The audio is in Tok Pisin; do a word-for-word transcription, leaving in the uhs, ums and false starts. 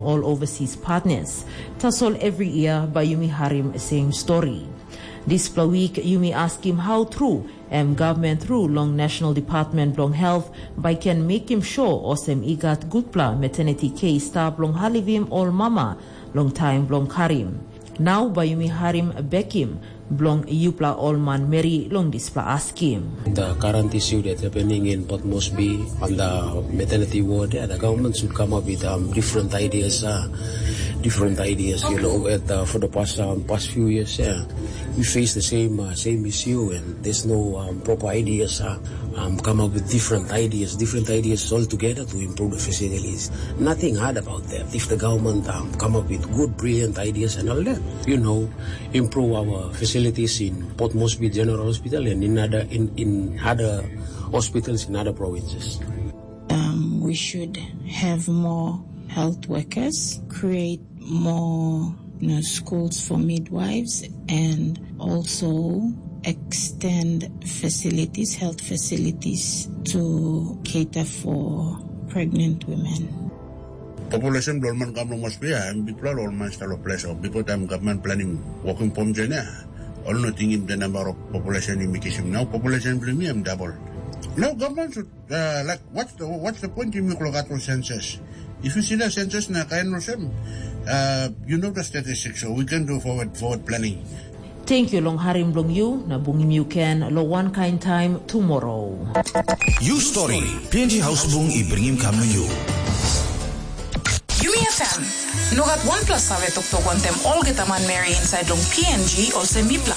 ol overseas partners. Tasol every year bai yumi harim same story. Dispela wik yumi askim how true em government through long National Department bilong Health bai ken mekim sure olsem i gat gutpela maternity care i stap long halivim ol mama long taim bilong karim. Nau bai yumi harim bekim bilong yupela ol manmeri long dispela askim. The current issue that happening in Port Moresby on the maternity ward, yeah, the government should come up with um, different ideas, uh, different ideas. You know, at, uh, for the past um, past few years, yeah, we face the same uh, same issue, and there's no um, proper ideas. Uh, um, come up with different ideas, different ideas all together to improve the facilities. Nothing hard about that. If the government um, come up with good, brilliant ideas and all that, you know, improve our facilities in Port Moresby General Hospital and in other in, in other hospitals in other provinces. Um, we should have more health workers, create more you know, schools for midwives, and also extend facilities, health facilities to cater for pregnant women. Population bilong man kam long Moresby, em bikpela long man stalo ples of before time government planning working pom join ya. Ol no tingim the number of population in Mikisim. Now population bilong mi em double. Now government should uh, like what's the what's the point in Miklo Gato census? If you see the census na kain olsem, uh, you know the statistics, so we can do forward forward planning. Thank you long harim bilong you na bungim you ken lo one kind time tomorrow. You story, P N G House Bung i bringim kam na you. Yumi F M. No gat wanpela save toktok wantem olgeta manmeri inside long P N G olsem mipla.